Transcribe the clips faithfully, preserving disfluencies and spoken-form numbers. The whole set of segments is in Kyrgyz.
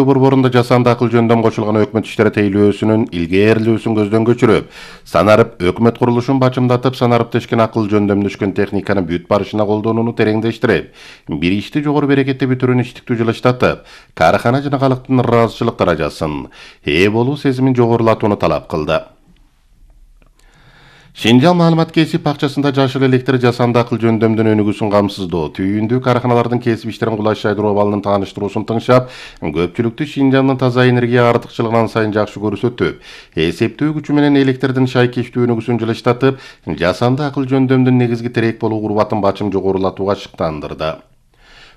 Борборунда жасанды акыл жөндөм кошулган өкмөт иштери тейлөөсүнүн илгээрилүүсүн көздөн көчүрүп, санарып өкмөт курулушун бачымдатып, санарыптешкен акыл жөндөмдөшкөн техниканы бүт барышына колдонууну тереңдештирип, бир ишти жогору берекетте бүтүрүүнү иштиктүү жылыштатып, каархана жана калктын ыраазычылык даражасын, ээ болуу сезимин жогорулатууну талап кылды. Шинжаң маалымат кесип бакчасында жашыл электр жасанды акыл жөндөмдүн өнүгүүсүн камсыздоо, түйүндүү каарханалардын кесип иштерин кулайшайдыруу абалынын тааныштыруусун тыңшап, көпчүлүктү Шинжаңдын таза энергия артыкчылыгынан сайын жакшы көрсөтүп, эсептөө күчү менен электрдин шайкештүү өнүгүүсүн жылыштатып, жасанды акыл жөндөмдүн негизги терек болуу курбатын бачым жогорулатууга шыктандырды.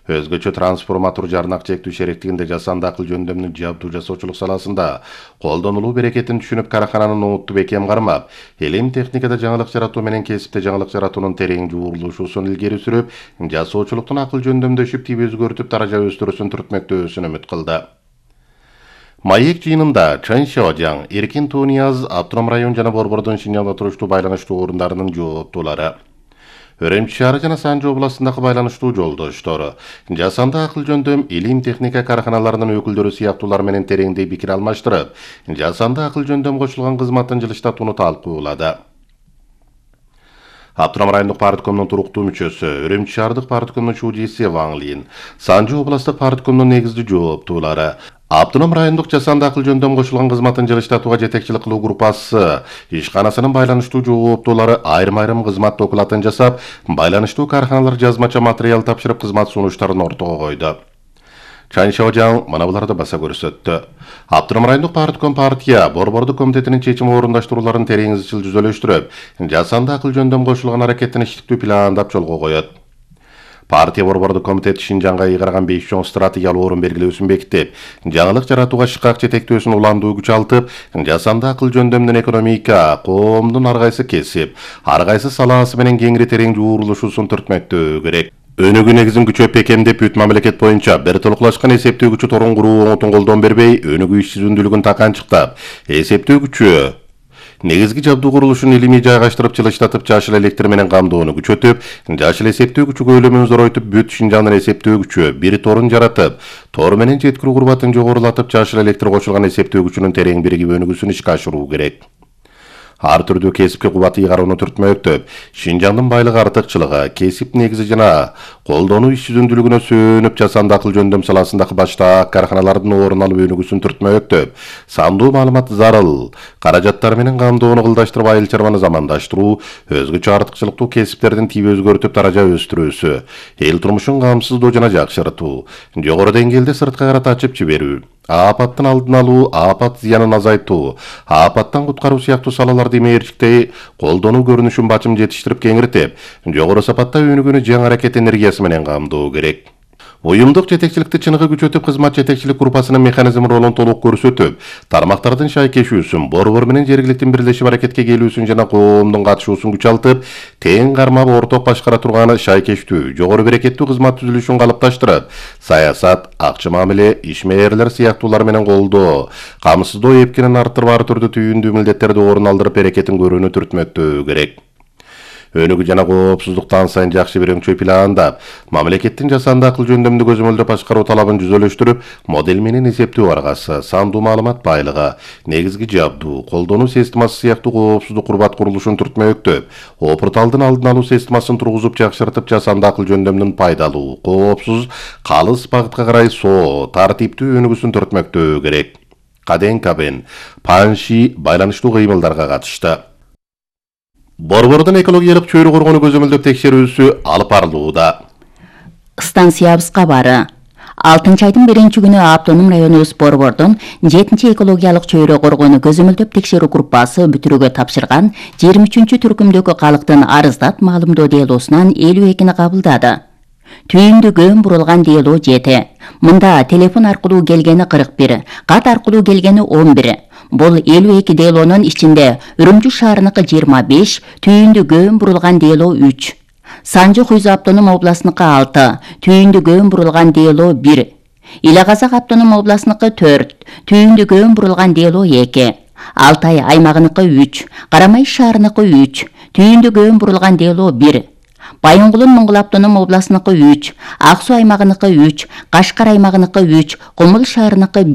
Өзгөчө трансформатор жарнак чектүү шеректигинде жасанды акыл жөндөмдүн жабдуу жасоочулук саласында колдонулуу берекетин түшүнүп, каархананын ноуту бекем кармап, элим техникада жаңылык жаратуу менен кесипте жаңылык жаратуунун терең жуурулушуусун илгери сүрүп, жасоочулуктун акыл жөндөмдөшүп, тип өзгөртүп, даража өстүрүүсүн түртмөктөөсүн үмүт кылды. Маек жыйынында Чэн Шаожаң, Эркин Тунияз, Автоном район жана Борбордун Шинжаңда туруштуу байланыштуу орундарынын жооптуулары, Өрөмчү шаары жана Санжы областындагы байланыштуу жолдоштору, жасанды акыл жөндөм илим техника каарханаларынын өкүлдөрү сыяктуулар менен тереңдей пикир алмаштырып, жасанды акыл жөндөм кошулган кызматын жылыштатууну талкуулады. Автоном райондук парткомдун туруктуу мүчөсү, Өрөмчү шаардык парткомдун чуужиси Ваң Лин, Санжы областтык парткомдун негизги жооптуулары, Автоном райондук жасанды акыл жөндөм кошулган кызматын жылыштатууга жетекчилик кылуу группасы ишканасынын байланыштуу жооптуулары айрым-айрым кызмат докладын жасап, байланыштуу каарханалар жазмача материал тапшырып, кызмат сунуштарын ортого койду. Чэн Шаожаң мына буларды баса көрсөттү. Автоном райондук партком партия борбордук комитетинин чечим орундаштырууларын терең изчил жүзөлөштүрүп, жасанды акыл жөндөм кошулган аракеттин иштиктүү пландап жолго коет. Партия борбордук комитети Шинжаңга ыйгарган беш чоң стратегиялык орун белгилөөсүн бекитип, жаңылык жаратууга шыкак жетектөөсүн уландуу күчалтып, жасанды акыл жөндөмдүн экономика, коомдун ар кайсы кесип, ар кайсы салаасы менен кеңири терең жуурулушуусун түртмөктөө керек. Өнүгүү негизин күчөп бекемдеп, бүт мамлекет боюнча бир толуклашкан эсептөө күчү торун куруу оңотун колдон бербей, өнүгүү иш-жүзүндүүлүгүн таканчыктап, эсептөө күчү негизги жабдуу курулушун илимий жайгаштырып, жылыштатып, жашыл электр менен камдоону күчөтүп, жашыл эсептөө күчү көлөмүн зоройтуп, бүт Шинжаңдын эсептөө күчү бир торун жаратып, тор менен жеткирүү курбатын жогорулатып, жашыл электр кошулган эсептөө күчүнүн терең биригип өнүгүүсүн ишке ашыруу керек. Ар түрдүү кесипке кубат ыйгарууну түртмөктөп, Шинжаңдын байлык артыкчылыгы, кесип негизи жана колдонуу иш-жүзүндүүлүгүнө сөөнүп, жасанды акыл жөндөм саласындагы баштаак каарханалардын орун алып өнүгүүсүн түртмөктөп, сандуу маалымат зарыл, каражаттар менен камдоону кылдаштырып, айыл чарбаны замандаштыруу, өзгөчө артыкчылыктуу кесиптердин тип өзгөртүп, даража өстүрүүсү, эл турмушун камсыздоо жана жакшыртуу, жогору деңгээлде сырткы карата ачып жиберүү, апаттын алдын алуу, апат зыянын азайтуу, апаттан куткаруу сыяктуу салаларды имээрчиктей колдонуу көрүнүшүн бачым жетиштирип кеңиртип, жогору сапатта өнүгүүнү жаңы аракет энергиясы менен камдоо керек. Уюмдук жетекчиликти чыныгы күчөтүп, кызмат жетекчилик группасынын механизм ролун толук көрсөтүп, тармактардын шайкешүүсүн, борбор менен жергиликтин бирлешип аракетке келүүсүн жана коомдун катышуусун күчалтып, тең кармап орток башкара турганы шайкештүү, жогору берекеттүү кызмат түзүлүшүн калыпташтырып, саясат, акча мамиле, ишмээрлер сыяктуулар менен колдоо, камсыздоо эпкинин арттырып, ар түрдүү түйүндүү милдеттерди орун алдырып, берекетин көрүүнү түртмөктөө керек. Өнүгүү жана коопсуздуктан сайын жакшы бир өңчөй пландап, мамлекеттин жасанды акыл жөндөмдү көзөмөлдөп башкаруу талабын жүзөлөштүрүп, модель менен эсептөө аргасы, сандуу маалымат байлыгы, негизги жабдуу, колдонуу системасы сыяктуу коопсуздук курбат курулушун түртмөктөп, опурталдын алдын алуу системасын тургузуп, жакшыртып, жасанды акыл жөндөмдүн пайдалуу, коопсуз, калыс багытка карай соо, тартиптүү өнүгүүсүн түртмөктөө керек. Каден Кабен, Панши байланыштуу кыймылдарга катышты. Борбордун экологиялык чөйрө коргону көзөмөлдөп текшерүүсү алып барылууда. Станциябыз кабары. алтынчы айдын биринчи күнү Автоном районубуз Борбордун жетинчи экологиялык чөйрө коргону көзөмөлдөп текшерүү группасы бүтүрүүгө тапшырган жыйырма үчүнчү түркүмдөгү калктын арыздат маалымдоо делоосунан элүү экини кабылдады. Түйүндү көн бурулган делоо жети. Мында телефон аркылуу келгени кырк бир, кат аркылуу келгени он бир. Бул элүү эки делоонун ичинде Үрүмчү шаарыныкы жыйырма беш, түйүндү көн бурулган делоо үч. Санжы Хуйзу автоном областыныкы алты, түйүндү көн бурулган делоо бир. Иле Казак автоном областыныкы төрт, түйүндү көн бурулган делоо эки. Алтай аймагыныкы үч, Карамай шаарыныкы үч, түйүндү көн бурулган делоо бир. Байынгулун Моңгол автоном областыныкы үч, Ак Суу аймагыныкы үч, Кашкар аймагыныкы үч, Кумул шаарыныкы